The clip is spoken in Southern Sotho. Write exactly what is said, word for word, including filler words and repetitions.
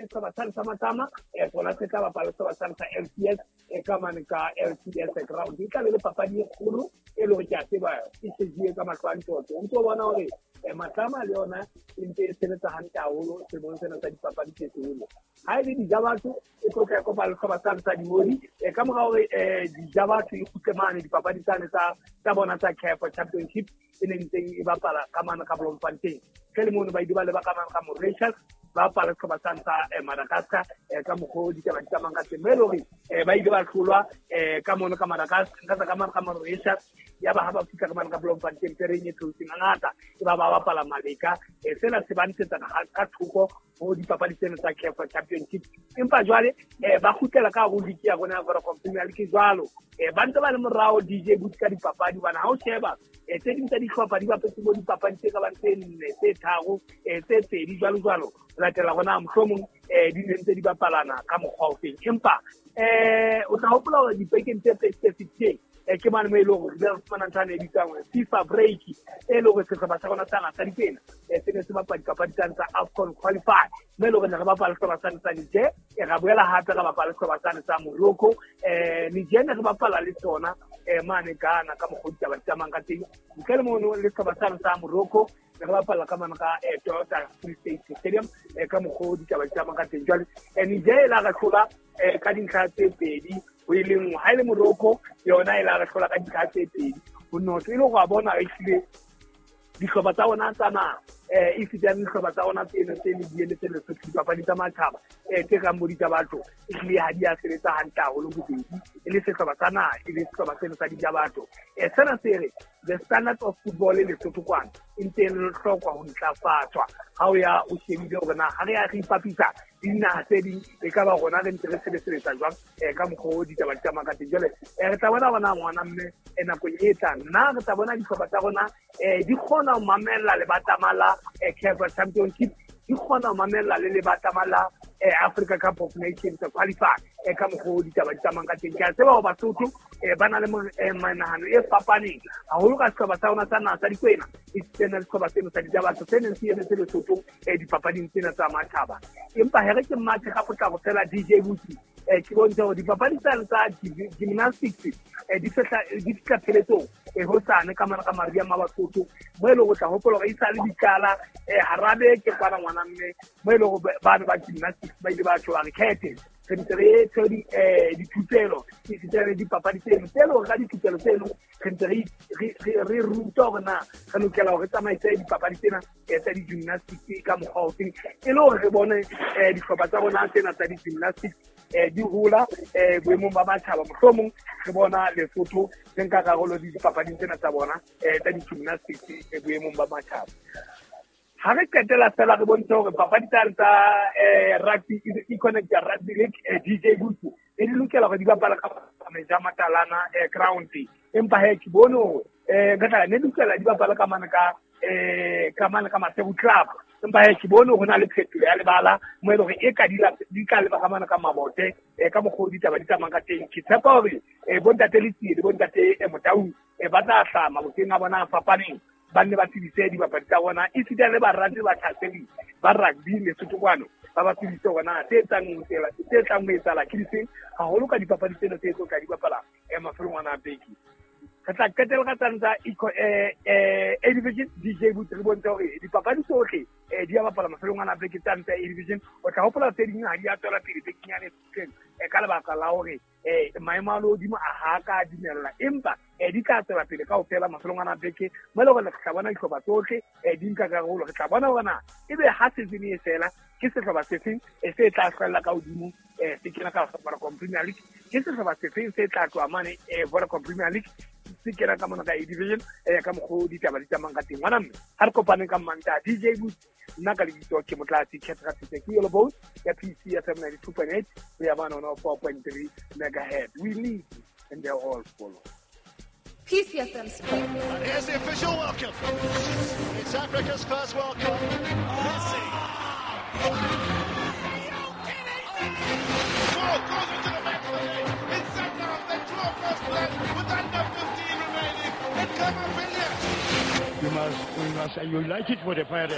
le sehlopha sane sa Matlama um sona se tla bapala sehlopha sane sa L C S e ka mane ka L C S ground. E tla be le papadi e kgolo e le hore ke a tseba e shejuwe ka mahlo a ntjhotjho. O ntso bona hore Matlama le yona e ntse e sebetsa hantle haholo selemong sena sa dipapadi tse seholo. Ha e le Dijabatho e tlo tla kopa le sehlopha sane sa Dimodi ka mora hore Dijabatho e kgutle mane dipapadi tsane tsa tsa bona tsa C A F Championship e ne ntseng e bapala ka mane ka Bloemfontein. Ke le mono ba ile ba leba ka mane ka Mauritius ba bapala sehlopha sane sa Madagascar ka mokgwa ditaba di tsamayang ka teng. Mme e le hore ba ile ba hlolwa ka mono ka Madagascar ka mane ka Mauritius ya ba ha ba fihla ka mane ka Bloemfontein tereng e theotseng hangata e ba ba bapala maleka. Sena se ba ntshetsa ka thoko ho dipapadi tsena tsa C A F Championship. Empa jwale ba kgutlela ka hare ho league ya rona ya Vodacom Premier League jwalo. Ba ntse ba le morao D J Boot ka dipapadi hobane ha o sheba tse ding tsa dihlopha di bapetse bo dipapadi tse ka bang tse nne, tse tharo, tse pedi jwalo jwalo. Ho latela hore na mohlomong di ne ntse di bapalana ka mokgwa o feng. Empa o tla hopola hore dipekeng tse pedi tse fetileng ke mane mo e leng hore re fumana ntho e bitswang FIFA break e leng hore sehlopha sa rona sa naha sa Dipena se ne se bapala dipapadi tsane tsa AFCON qualify mme e leng hore ne re bapala sehlopha sane sa Niger, ra boela hape ra bapala sehlopha sane sa Morocco. Niger ne re bapala le tsona mane Ghana ka mokgwa ditaba di tsamayang ka teng. Ntle le mono le sehlopha sane sa Morocco ne re bapala ka mane ka Toyota Free State Stadium ka mokgwa ditaba di tsamayang ka teng. Jwale Niger e la re hlola ka dintlha tse pedi ho e le nngwe. Ha e le Morocco yona e la re hlola ka dintlha tse pedi ho noto. E le hore wa bona ehlile dihlopha tsa rona tsa naha e fetang dihlopha tsa rona tseno tse ne di emetse Lesotho dipapadi tsa matjhaba tse kang bo Dijabatho ehlile ha di a sebetsa hantle haholo bobedi e le sehlopha sa naha e le sehlopha seno sa Dijabatho. Sena se re the standard of football e Lesotho kwana e ntse e hlokwa ho ntlafatswa. Ha o ya o shebile hore na ha re ya re ipapisa le dinaha tse ding e ka ba rona re ntse re sebetsa jwang ka mokgwa o ditaba di tsamayang ka teng. Jwale re tla bona bona ngwana mme nakong e tlang na re tla bona dihlopha tsa rona di kgona ho mamella lebatama la C A F Championship, di kgona ho mamella le lebatama la Africa Cup of Nations qualify ka mokgwa o ditaba di tsamayang ka teng. Ke a tseba hore Basotho ba na le menahano e fapaneng haholo ka sehlopha sa rona sa naha sa Dikwena e sena le sehlopha seno sa Dijabatho se neng se emetse Lesotho dipapading tsena tsa matjhaba. Empa he re ke mathe ka potlako fela D J Buti ke bontsha hore dipapadi tsane tsa gymnastics di fihla di fihla pheletsong hosane ka mane ka Maria Mabasotho mo e leng ho tla hopola hore e sale di qala hara beke kwana ngwana mme mo e leng hore bana ba gymnastics ba ile ba tjho ba re khethe re ntse re tshwere dithupelo esita le dipapadi tseno tse leng hore ka dithupelo tseno re ntse re ruta hore na re lokela hore re tsamaise dipapadi tsena tsa di-gymnastics ka mokgwa ofeng e le hore re bone dihlopha tsa rona tsena tsa di-gymnastics di hola boemong ba matjhaba. Mohlomong re bona Lesotho re nka karolo dipapading tsena tsa bona tsa di-gymnastics boemong ba matjhaba. Ha re qetela fela re bontshe hore papadi tsa tsa rugby e-connect rugby league D J Butsu e di lokela hore di bapala ka Meja Matalana ground. Empa he ke bone hore ka tla ne lokela di bapala ka mane ka ka mane ka Maseru Club. Empa he ke bone hore ho na le phetoho ya lebala mo e leng hore e ka di di ka leba ka mane ka Mabote ka mokgwa ditaba di tsamayang ka teng. Ke tshepa hore bontate Letsie le bontate Motaung ba tla hlaha mabokeng a bona a fapaneng ba nne ba tsebise dibapadi tsa bona esita le barati ba tlhasedi ba rugby Lesotho kwano ba ba tsebise hore na tse tlang tse tlang ho etsahala ke difeng haholo ka dipapadi tsena tse tlo tla di bapala mafelong ana a beke. Re tla qetela ka tsane tsa A Division D J Boot re bontshe hore dipapadi tsohle di a bapala mafelong ana a beke tsane tsa A Division. O tla hopola tse ding ha di a tswela pele bekeng yane e ka lebaka la hore maemo a lehodimo a ha ka dumella, empa di tla tswela pele kaofela mafelong ana a beke mo e leng hore re tla bona dihlopha tsohle di nka karolo. Re tla bona hore na ebe ha season e fela ke sehlopha se feng se tla hlwella ka hodimo se kena ka Vodacom Premier League, ke sehlopha se feng se tla tloha mane Vodacom Premier League se kena ka mona ka A Division ka mokgwa ditaba di tsamayang ka teng. Ngwana mme ha re kopaneng ka Mantaha D J Boot nna ka lebitso ke Motlatsi Khetha ke Yellow Bone ya P C F M ninety-two point eight ho ya bana ona four point three megahertz. We lead and they all follow. P C F M Sports. And here's the official welcome. It's Africa's first World Cup. Messi. Are you kidding me? Ball goes into the back of the net. It's set now. They draw first blood with under fifteen remaining. It comes up. You must, we must, you like it for the party.